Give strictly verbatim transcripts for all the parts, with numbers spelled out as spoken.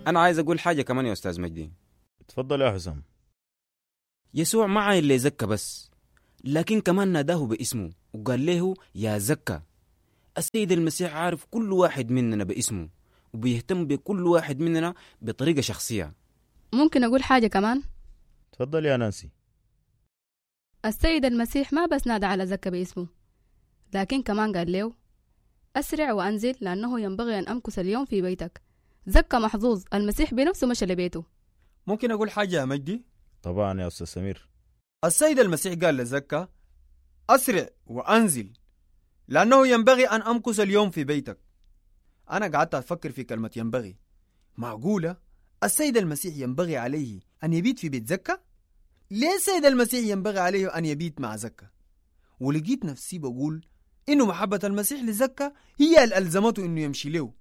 أنا عايز أقول حاجة كمان يا أستاذ مجدي. اتفضل يا حسام. يسوع ما عاين لزكا بس، لكن كمان ناداه باسمه وقال له يا زكا. السيد المسيح عارف كل واحد مننا باسمه وبيهتم بكل واحد مننا بطريقة شخصية. ممكن أقول حاجة كمان؟ تفضل يا نانسي. السيد المسيح ما بس نادى على زكا باسمه، لكن كمان قال له أسرع وأنزل لأنه ينبغي أن أمكث اليوم في بيتك. زكا محظوظ، المسيح بنفسه مشى لبيته. ممكن أقول حاجة يا مجدي؟ طبعا يا أستاذ سمير. السيد المسيح قال لزكا أسرع وأنزل لأنه ينبغي أن أمكث اليوم في بيتك. أنا قعدت أفكر في كلمة ينبغي. معقولة السيد المسيح ينبغي عليه أن يبيت في بيت زكا؟ ليه السيد المسيح ينبغي عليه أن يبيت مع زكا؟ ولقيت نفسي بقول إنه محبة المسيح لزكا هي اللي ألزمته إنه يمشي له،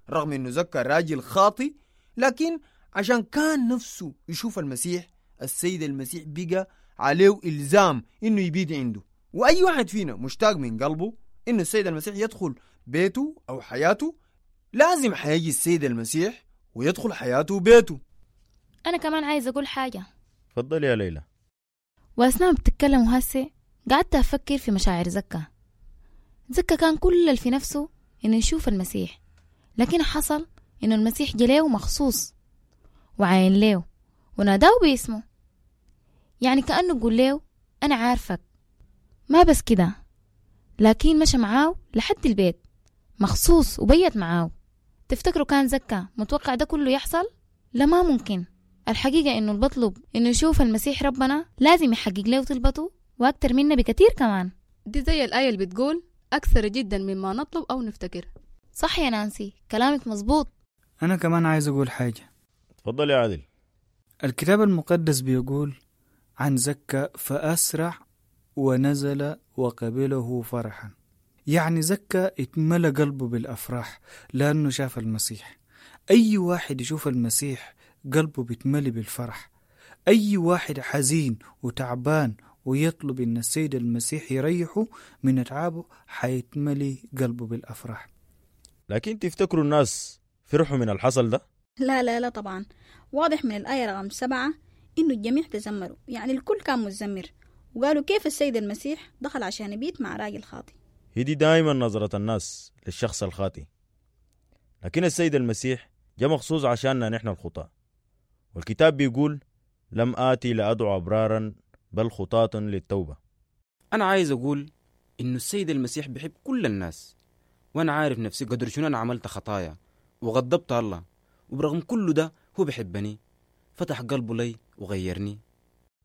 رغم إنه زكا راجل خاطي، لكن عشان كان نفسه يشوف المسيح، السيد المسيح بقى عليه إلزام إنه يبيت عنده. وأي واحد فينا مشتاق من قلبه إنه السيد المسيح يدخل بيته أو حياته، لازم حيجي السيد المسيح ويدخل حياته وبيته. أنا كمان عايز أقول حاجة. تفضل يا ليلى. وأثناء بتتكلم هسه قعدت أفكر في مشاعر زكا. زكا كان كل اللي في نفسه إنه يشوف المسيح، لكن حصل إنه المسيح جليه مخصوص وعاين له وناداه باسمه، يعني كأنه يقول له أنا عارفك. ما بس كده، لكن مشى معاه لحد البيت مخصوص وبيت معاه. تفتكروا كان زكا متوقع ده كله يحصل؟ لا، ما ممكن. الحقيقة إنه البطلب إنه يشوف المسيح ربنا لازم يحقق له طلبته وأكتر منا بكتير كمان. دي زي الآية اللي بتقول أكثر جدا مما نطلب أو نفتكر. صح يا نانسي، كلامك مظبوط. أنا كمان عايز أقول حاجة. تفضل يا عادل. الكتاب المقدس بيقول عن زكا فأسرع ونزل وقبله فرحا. يعني زكا اتملى قلبه بالأفراح لأنه شاف المسيح. أي واحد يشوف المسيح قلبه بيتملي بالفرح. أي واحد حزين وتعبان ويطلب إن السيد المسيح يريحه من أتعابه حيتملي قلبه بالأفراح. لكن تفتكروا الناس فرحوا من الحصل ده؟ لا لا لا طبعا. واضح من الآية رقم سبعة إنه الجميع تزمروا، يعني الكل كان متزمر وقالوا كيف السيد المسيح دخل عشان يبيت مع راجل خاطي. هي دي دايما نظرة الناس للشخص الخاطي، لكن السيد المسيح جاء مخصوص عشاننا نحن الخطاة. والكتاب بيقول لم آتي لأدعو أبرارا بل خطاة للتوبة. أنا عايز أقول إنه السيد المسيح بيحب كل الناس، وأنا عارف نفسي قدر شنو أنا عملت خطايا وغضبت الله، وبرغم كل ده هو بيحبني، فتح قلبه لي وغيرني.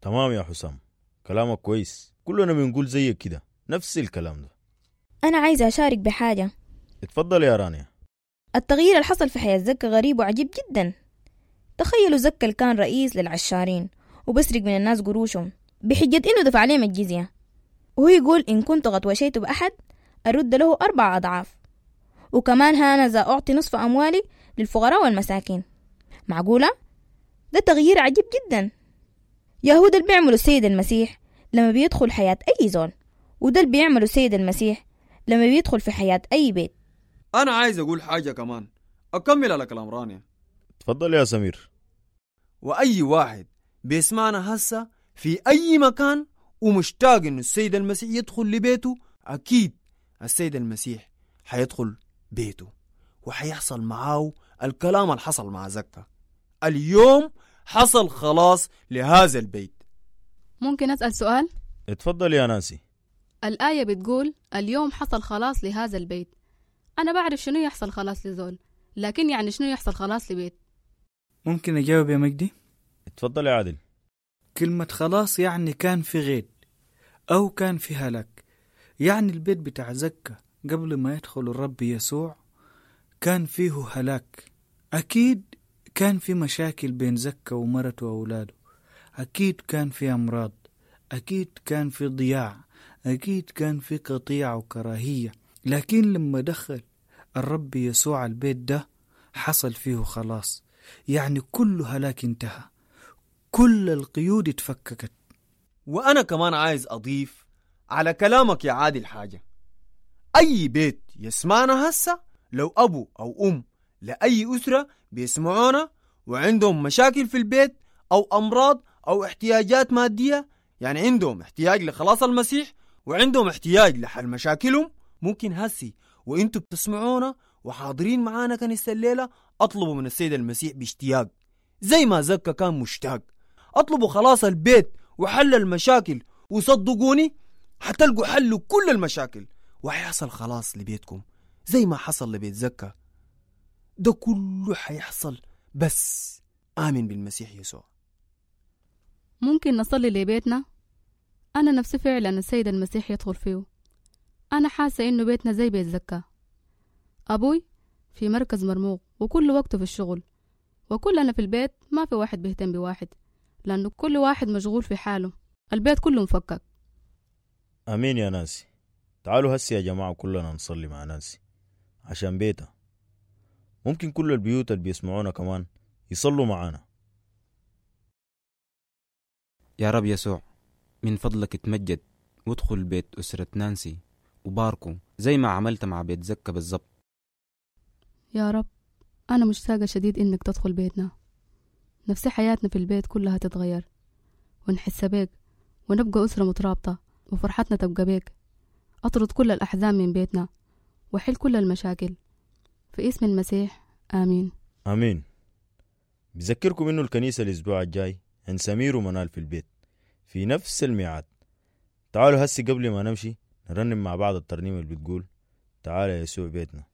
تمام يا حسام، كلامك كويس، كلنا بنقول زيك كده نفس الكلام ده. أنا عايزة أشارك بحاجة. اتفضل يا رانيا. التغيير اللي حصل في حياة زكا غريب وعجيب جدا. تخيلوا زكا اللي كان رئيس للعشارين وبسرق من الناس قروشهم بحجة إنه دفع عليهم الجزية، وهو يقول إن كنت قد وشيت بأحد أرد له أربع أضعاف، وكمان هانذا أعطي نصف أموالي للفقراء والمساكين. معقولة؟ ده تغيير عجيب جدا. يهود اللي بيعملوا السيد المسيح لما بيدخل حياة أي زول، وده اللي بيعملوا السيد المسيح لما بيدخل في حياة أي بيت. أنا عايز أقول حاجة كمان، أكمل على كلام رانيا. تفضل يا سمير. وأي واحد بيسمعنا هسه في أي مكان ومشتاق إنه السيد المسيح يدخل لبيته، أكيد السيد المسيح حيدخل بيته وحيحصل معاه الكلام اللي حصل مع زكا. اليوم حصل خلاص لهذا البيت. ممكن أسأل سؤال؟ اتفضل يا نانسي. الآية بتقول اليوم حصل خلاص لهذا البيت. أنا بعرف شنو يحصل خلاص لزول، لكن يعني شنو يحصل خلاص لبيت؟ ممكن أجاوب يا مجدي؟ اتفضل يا عادل. كلمة خلاص يعني كان في غيد أو كان في هلاك. يعني البيت بتاع زكا قبل ما يدخل الرب يسوع كان فيه هلاك. أكيد كان في مشاكل بين زكا ومرته وأولاده، أكيد كان في أمراض، أكيد كان في ضياع، أكيد كان في قطيعة وكراهية. لكن لما دخل الرب يسوع البيت ده حصل فيه خلاص، يعني كل هلاك انتهى، كل القيود اتفككت. وأنا كمان عايز أضيف على كلامك يا عادل حاجة. أي بيت يسمعنا هسه، لو أبو أو أم لأي أسرة بيسمعونا وعندهم مشاكل في البيت أو أمراض أو احتياجات مادية، يعني عندهم احتياج لخلاص المسيح وعندهم احتياج لحل مشاكلهم، ممكن هسي وانتوا بتسمعونا وحاضرين معانا كنيسة الليلة اطلبوا من السيد المسيح باشتياق زي ما زكا كان مشتاق. اطلبوا خلاص البيت وحل المشاكل، وصدقوني حتلقوا حل لكل المشاكل وحيحصل خلاص لبيتكم زي ما حصل لبيت زكا. ده كله حيحصل بس آمن بالمسيح يسوع. ممكن نصلي لبيتنا؟ أنا نفسي فعلا السيد المسيح يدخل فيه. أنا حاسة إنه بيتنا زي بيت زكا. أبوي في مركز مرموق وكل وقته في الشغل، وكلنا في البيت ما في واحد بيهتم بواحد لأنه كل واحد مشغول في حاله. البيت كله مفكك. أمين يا نانسي. تعالوا هسي يا جماعة كلنا نصلي مع نانسي عشان بيتها. ممكن كل البيوت اللي بيسمعونا كمان يصلوا معانا. يا رب يسوع، من فضلك اتمجد وادخل بيت أسرة نانسي وباركو زي ما عملت مع بيت زكا بالظبط. يا رب أنا مشتاقة شديد إنك تدخل بيتنا. نفسي حياتنا في البيت كلها تتغير ونحس بيك ونبقى أسرة مترابطة وفرحتنا تبقى بيك. أطرد كل الأحزان من بيتنا وحل كل المشاكل في اسم المسيح، آمين. آمين. بذكركم إنه الكنيسة الأسبوع الجاي عند سمير ومنال في البيت في نفس الميعاد. تعالوا هسي قبل ما نمشي نرنم مع بعض الترنيمة اللي بتقول تعالى يسوع بيتنا.